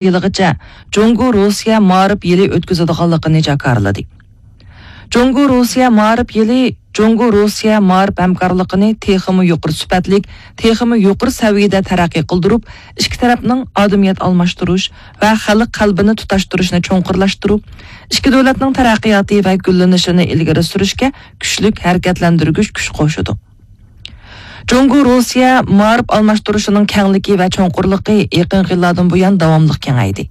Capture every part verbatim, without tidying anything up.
يىلىغىچە جۇڭگو روسىيە مائارىپ يىلى ئۆتكۈزىدىغانلىقىنى جاكارلىدى. جۇڭگو روسىيە مائارىپ يىلى جۇڭگو روسىيە مائارىپ ھەمكارلىقىنى تېخىمۇ يۇقىرى سۈپەتلىك، تېخىمۇ يۇقىرى سەۋىيەدە تەرەققىي قىلدۇرۇپ، ئىككى تەرەپنىڭ ئادىمىيەت ئالماشتۇرۇش ۋە خەلق قەلبىنى تۇتاشتۇرۇشنى چوڭقۇرلاشتۇرۇپ، ئىككى دۆلەتنىڭ تەرەققىياتى ۋە گۈللىنىشىنى ئىلگىرى سۈرۈشكە كۈچلۈك ھەرىكەتلەندۈرگۈچ كۈچ قوشىدۇ. جۇڭگو روسىيە مائارىپ ئالماشتۇرۇشىنىڭ كەڭلىكى ۋە چوڭقۇرلۇقى يېقىنقى يىللاردىن بۇيان داۋاملىق كېڭەيدى.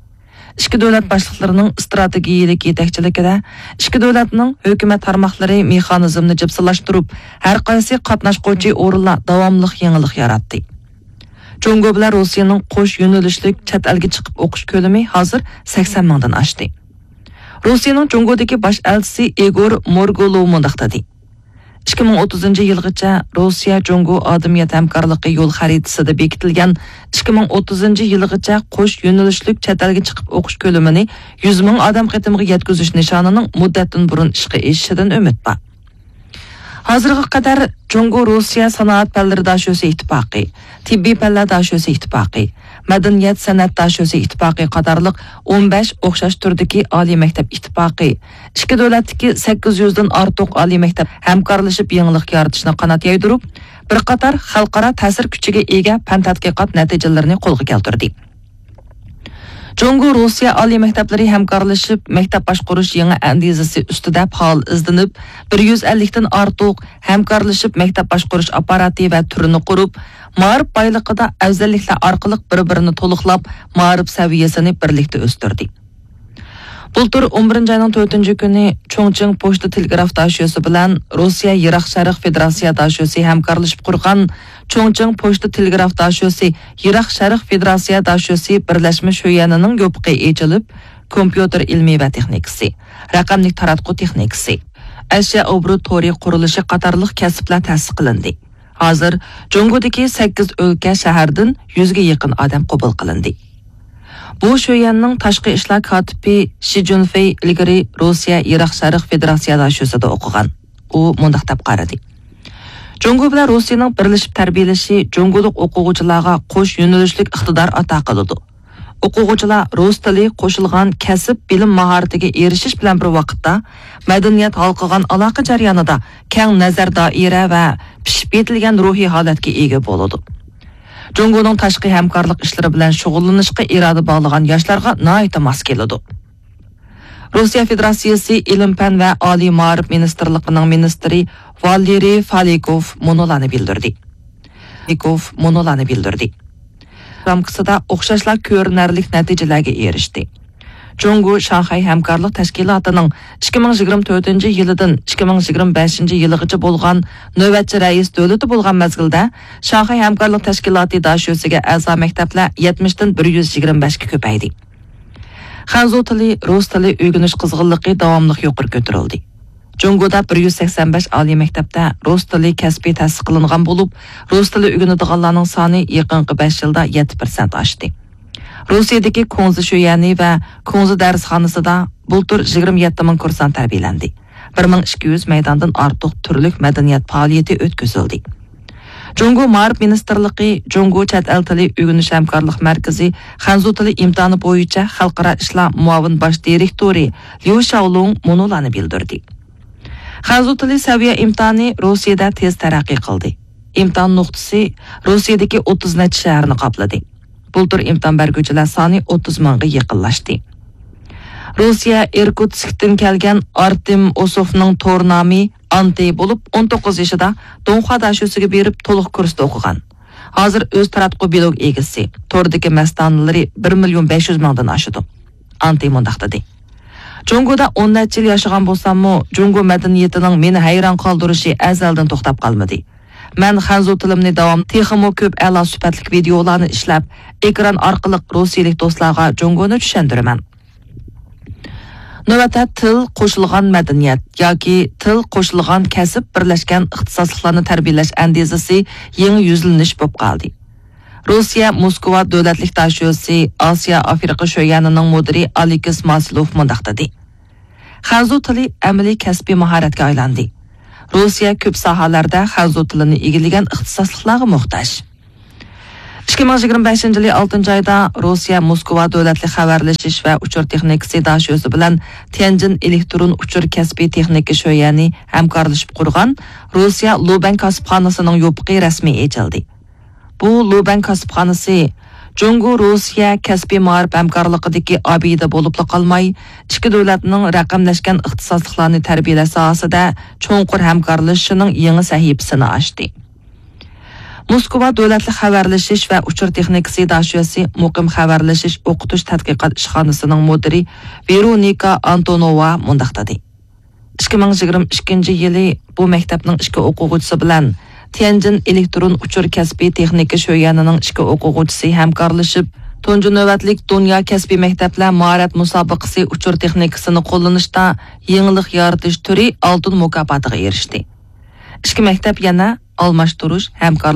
ئىككى دۆلەت باشلىقلىرىنىڭ ئىستراتېگىيىلىك يېتەكچىلىكىدە ئىككى دۆلەتنىڭ ھۆكۈمەت تارماقلىرى مېخانىزمنى جىپسىلاشتۇرۇپ، ھەر قايسى قاتناشقۇچى ئورۇنلار داۋاملىق يېڭىلىق ياراتتى. جۇڭگو بىلەن روسىيەنىڭ قوش يۆنىلىشلىك چەت ئەلگە چىقىپ ئوقۇش كۆلىمى ھازىر سەكسەن مىڭدىن ئاشتى. روسىيەنىڭ جۇڭگودىكى باش ئەلچىسى ئىگور مورگۇلوۋ مۇنداق دېدى: «ئىككى مىڭ ئوتتۇزىنچى يىلغىچە روسىيە جۇڭگو ئادەمىيەت ھەمكارلىقى يول خەرىتىسىدە بېكىتىلگەن ئىككى مىڭ ئوتتۇزىنچى يىلغىچە قوش يۆنىلىشلىك چەت ئەلگە چىقىپ ئوقۇش كۆلىمىنى يۈز مىڭ ئادەم قېتىمىغا يەتكۈزۈش نىشانىنىڭ مۇددەتتىن بۇرۇن ئىشقا ئېشىشىدىن ئۈمىد بار.» ھازىرغا قەدەر جۇڭگو روسىيە سانائەت پەنلىرى داشۆسى ئىتتىپاقى، تېببىي پەنلەر داشۆسى ئىتتىپاقى، مەدەنىيەت سەنئەت داشۆسى ئىتتىپاقى قاتارلىق ئون بەش ئوخشاش تۈردىكى ئالىي مەكتەپ ئىتتىپاقى، ئىككى دۆلەتتىكى سەككىز يۈزدىن ئارتۇق ئالىي مەكتەپ ھەمكارلىشىپ يېڭىلىق يارىتىشنى قانات يايدۇرۇپ، بىر قاتار خەلقئارا تەسىر كۈچىگە ئىگە پەن تەتقىقات نەتىجىلىرىنى قولغا كەلتۈردى. جۇڭگو روسىيە ئالىي مەكتەپلىرى ھەمكارلىشىپ مەكتەپ باشقۇرۇش يېڭى ئەندىزىسى ئۈستىدە پائال ئىزدىنىپ، بىر يۈز ئەللىكتىن ئارتۇق ھەمكارلىشىپ مەكتەپ باشقۇرۇش ئاپپاراتى ۋە تۈرىنى قۇرۇپ، مائارىپ بايلىقىدا ئەۋزەللىكلەر ئارقىلىق بىر-بىرىنى تولۇقلاپ، مائارىپ سەۋىيەسىنى بىرلىكتە ئۆستۈردى. بۇلتۇر ئون بىرىنچى ئاينىڭ تۆتىنچى كۈنى چۇڭچىڭ پوچتا تېلېگراف داشۆسى بىلەن روسىيە يىراق شەرق فېدېراتسىيە داشۆسى ھەمكارلىشىپ قۇرغان چۇڭچىڭ پوچتا تېلېگراف داشۆسى يىراق شەرق فېدېراتسىيە داشۆسى بىرلەشمە شۆيەنىنىڭ يوپۇقى ئېچىلىپ، كومپيۇتېر ئىلمى ۋە تېخنىكىسى، رەقەملىك تاراتقۇ تېخنىكىسى، ئەشيا ئوبوروت تورى قۇرۇلۇشى قاتارلىق كەسىپلەر تەسىس قىلىندى. ھازىر جۇڭگودىكى سەككىز ئۆلكە، شەھەردىن يۈزگە يېقىن ئادەم قوبۇل قىلىندى. بۇ شۆيەننىڭ تاشقى ئىشلار كاتىپى شى جۈنفېي ئىلگىرى روسىيە يىراق شەرق فېدېراتسىيە داشۆسىدە ئوقۇغان. ئۇ مۇنداق دەپ قارىدى: «جۇڭگو بىلەن روسىيەنىڭ بىرلىشىپ تەربىيەلىشى جۇڭگولۇق ئوقۇغۇچىلارغا قوش يۆنىلىشلىك ئىقتىدار ئاتا قىلىدۇ. ئوقۇغۇچىلار رۇس تىلى قوشۇلغان كەسىپ بىلىم ماھارىتىگە ئېرىشىش بىلەن بىر ۋاقىتتا، مەدەنىيەت ھالقىغان ئالاقە جەريانىدا كەڭ نەزەر دائىرە ۋە پىشىپ يېتىلگەن روھىي ھالەتكە ئىگە بولىدۇ. جۇڭگونىڭ تاشقى ھەمكارلىق ئىشلىرى بىلەن شۇغۇللىنىشقا ئىرادە باغلىغان ياشلارغا ناھايىتى ماس كېلىدۇ.» روسىيە فېدېراتسىيىسى ئىلىم-پەن ۋە ئالىي مائارىپ مىنىستىرلىقىنىڭ مىنىستىرى ۋالېرىي فالىكوف مۇنۇلارنى بىلدۈردى. فالىكوف مۇنۇلارنى بىلدۈردى. رامكىسىدا ئوخشاشلا كۆرۈنەرلىك نەتىجىلەرگە ئېرىشتى. جۇڭگو شاڭخەي ھەمكارلىق تەشكىلاتىنىڭ ئىككى مىڭ يىگىرمە تۆتىنچى يىلىدىن ئىككى مىڭ يىگىرمە بەشىنچى يىلىغىچە بولغان نۆۋەتچى رەئىس دۆلىتى بولغان مەزگىلدە، شاڭخەي ھەمكارلىق تەشكىلاتى داشۆسىگە ئەزا مەكتەپلەر يەتمىشتىن بىر يۈز يىگىرمە بەشكە كۆپەيدى. خەنزۇ تىلى، رۇس تىلى ئۆگىنىش قىزغىنلىقى داۋاملىق يۇقىرى كۆتۈرۈلدى. جۇڭگودا بىر يۈز سەكسەن بەش ئالىي مەكتەپتە رۇس تىلى كەسپى تەسىس قىلىنغان بولۇپ، رۇس تىلى ئۆگىنىدىغانلارنىڭ سانى يېقىنقى بەش يىلدا يەتتە پىرسەنت ئاشتى. روسىيەدىكى كۇڭزى شۆيەنى ۋە كۇڭزى دەرسخانىسىدا بۇلتۇر يىگىرمە يەتتە مىڭ كۇرسانت تەربىيەلەندى. بىر مىڭ ئىككى يۈز مەيداندىن ئارتۇق تۈرلۈك مەدەنىيەت پائالىيىتى ئۆتكۈزۈلدى. جۇڭگو مائارىپ مىنىستىرلىقى جۇڭگو چەت ئەل تىلى ئۆگىنىش ھەمكارلىق مەركىزى خەنزۇ تىلى ئىمتىھانى بويىچە خەلقئارا ئىشلار مۇئاۋىن باش دىرېكتورى ليۇ شياۋلۇڭ مۇنۇلارنى بىلدۈردى. خەنزۇ تىلى سەۋىيە ئىمتىھانى روسىيەدە تېز تەرەققىي قىلدى. ئىمتىھان نۇقتىسى روسىيەدىكى ئوتتۇز نەچچە شەھەرنى قاپلىدى. بۇلتۇر ئىمتىھان بەرگۈچىلەر سانى ئوتتۇز مىڭغا يېقىنلاشتى. روسىيە ئىركۇتسكتىن كەلگەن ئارتېم ئوسوفنىڭ تور نامى ئانتى بولۇپ، ئون توققۇز يېشىدا دۇڭخۇا داشۆسىگە بېرىپ، تولۇق كۇرستا ئوقۇغان. ھازىر ئۆز تاراتقۇ بىلوگ ئىگىسى، توردىكى مەستانىلىرى بىر مىليون بەش يۈز مىڭدىن ئاشىدۇ. ئانتى مۇنداق دېدى: «جۇڭگودا ئون نەچچە يىل ياشىغان بولساممۇ، جۇڭگو مەدەنىيىتىنىڭ مېنى ھەيران قالدۇرۇشى ئەزەلدىن توختاپ قالمىدى. مەن خەنزۇ تىلىمنى داۋام، تېخىمۇ كۆپ ئەلا سۈپەتلىك ۋىدېئولارنى ئىشلەپ، ئېكران ئارقىلىق روسىيەلىك دوستلارغا جۇڭگونى چۈشەندۈرىمەن.» نۆۋەتتە تىل قوشۇلغان مەدەنىيەت ياكى تىل قوشۇلغان كەسىپ بىرلەشكەن ئىختىساسلىقلارنى تەربىيەلەش ئەندىزىسى يېڭى يۈزلىنىش بولۇپ قالدى. روسىيە موسكۋا دۆلەتلىك داشۆسى ئاسىيا ئافرىقا شۆيەنىنىڭ مۇدىرى ئالېكس ماسلوف مۇنداق دېدى: «خەنزۇ تىلى ئەمەلىي كەسپىي ماھارەتكە ئايلاندى. روسىيە كۆپ ساھەلەردە خەنزۇ تىلىنى ئىگىلىگەن ئىختىساسلىقلارغا موھتاج.» ئىككى مىڭ يىگىرمە بەشىنچى يىلى ئالتىنچى ئايدا روسىيە موسكۋا دۆلەتلىك خەۋەرلىشىش ۋە ئۇچۇر تېخنىكىسى داشۆسى بىلەن تيەنجىن ئېلېكترون ئۇچۇر كەسپىي تېخنىكا شۆيەنى ھەمكارلىشىپ قۇرغان روسىيە لۇبەن كاسىپخانىسىنىڭ يوپۇقى رەسمىي ئېچىلدى. بۇ لۇبەن كاسىپخانىسى جۇڭگو روسىيە كەسپىي مائارىپ ھەمكارلىقىدىكى ئابىدە بولۇپلا قالماي، ئىككى دۆلەتنىڭ رەقەملەشكەن ئىختىساسلىقلارنى تەربىيەلەش ساھەسىدە چوڭقۇر ھەمكارلىشىشىنىڭ يېڭى سەھىپىسىنى ئاچتى. موسكۋا دۆلەتلىك خەۋەرلىشىش ۋە ئۇچۇر تېخنىكىسى داشۆسى مۇقىم خەۋەرلىشىش ئوقۇتۇش تەتقىقات ئىشخانىسىنىڭ مۇدىرى ۋېرونىكا ئانتونوۋا مۇنداق دېدى: ئىككى مىڭ يىگىرمە ئىككىنچى يىلى بۇ مەكتەپنىڭ ئىككى ئوقۇغۇچىسى بىلەن تيەنجىن ئېلېكترون ئۇچۇر كەسپىي تېخنىكا شۆيەنىنىڭ ئىككى ئوقۇغۇچىسى ھەمكارلىشىپ، تۇنجى نۆۋەتلىك دۇنيا كەسپىي مەكتەپلەر ماھارەت مۇسابىقىسى ئۇچۇر تېخنىكىسىنى قوللىنىشتا يېڭىلىق يارىتىش تۈرى ئالتۇن مۇكاپاتىغا ئېرىشتى. ئىككى مەكتەپ يەنە ئالماشتۇرۇش، ھەمكارلىق